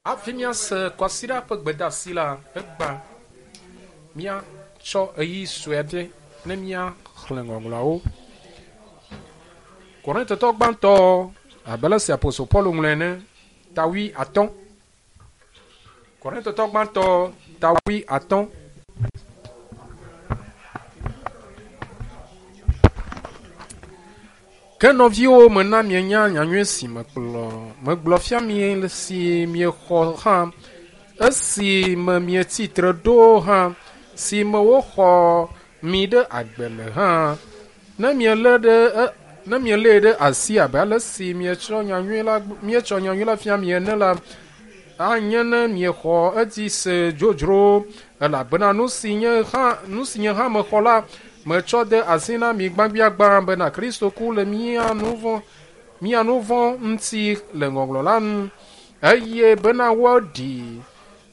Hafi míase kwasiɖa ƒe gbedeasi la, egbea míatsɔ ɣeyiɣi sue aɖe ne míaxlẽ ŋɔŋlɔawo. Korintotɔ gbãtɔ abe ale si apostol Paulo ŋlɔe ene, ta 50. Korintotɔ gbãtɔ ta 50. Ke nɔviwo, mena mienya nyanyui si mekplɔ megblɔ fia mi si miexɔ hã, esi me mietsi tre ɖo hã, si me woxɔ mi ɖe agbe le hã. Ne mielé ɖe ne mielée ɖe asi abe ale si mietsɔ nyanyui la míetsɔ nyanyui la fia mi ene la, anye ne miexɔ edzi se dzodzro elabena nu si nye hã nu si nye hã mexɔ la metsɔ de asi na mi gbãgbiagbã bena Kristo ku le mía nu vɔ̃ mía nu vɔ̃ ŋuti le ŋɔŋlɔ la nu eye bena woaɖi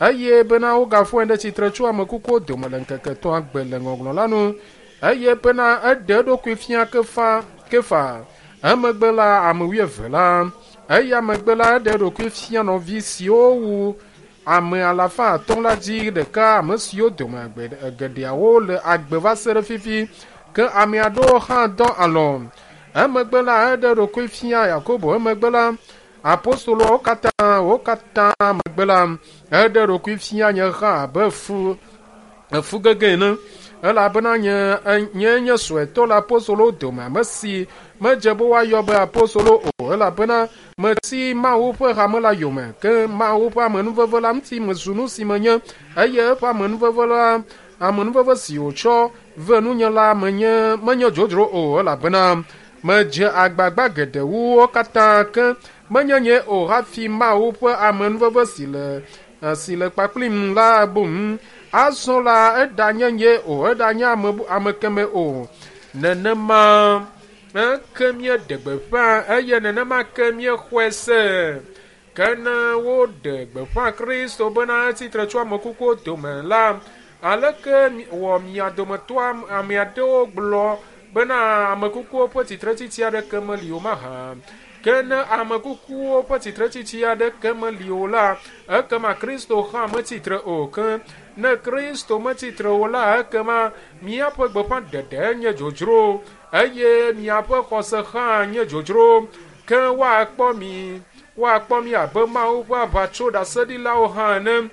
eye bena wogafɔe ɖe tsitre tso ame kukuwo dome le ŋkeke etɔ̃a gbe le ŋɔŋlɔ la nu eye bena eɖe eɖokui fia kefa kefa emegbe la ame wuieve la eya megbe la eɖe eɖokui fia nɔvi siwo wu ame alafa atɔ̃ la dzi ɖeka ame siwo dome geɖeawo le agbe va se ɖe fifi ke ame aɖewo hã dɔ alɔ emegbe la eɖe eɖokui fia Yakobo emegbe la apostoloawo katã wo katã megbe la eɖe eɖokui fia nye hã abe fu efu gege ene elabena nye nye nye suetɔ le apostolowo dome ame si medze be woayɔ be apostolo o elabena meti Mawu ƒe hame la yome ke Mawu ƒe amenuveve la ŋuti mezu nu si menye eye eƒe amenuveve la amenuveve si wòtsɔ ve nunye la menye menye dzodzro o elabena medze agbagba geɖe wu wo katã ke menye nye o hafi Mawu ƒe amenuveve si le si le kpakplim la boŋ azɔ la eɖanye nye o eɖanye ame ame keme o nenema ke míeɖe gbeƒã eye nenema ke míexɔe se ke ne woɖe gbeƒã Kristo bena etsitre tso ame kukuwo dome la aleke wɔ mia dometɔ ame aɖewo gblɔ bena ame kukuwo ƒe tsitretsitsi aɖeke meli o mahã ke ne ame kukuwo ƒe tsitretsitsi aɖeke meli o la ekema Kristo hã metsitre o ke ne Kristo metsitre o la ekema míaƒe gbeƒãɖeɖe nye dzodzro eye miaƒe xɔse hã nye dzodzro ke woakpɔ mi woakpɔ mi abe Mawu ƒe aʋatsoɖaseɖilawo hã ene.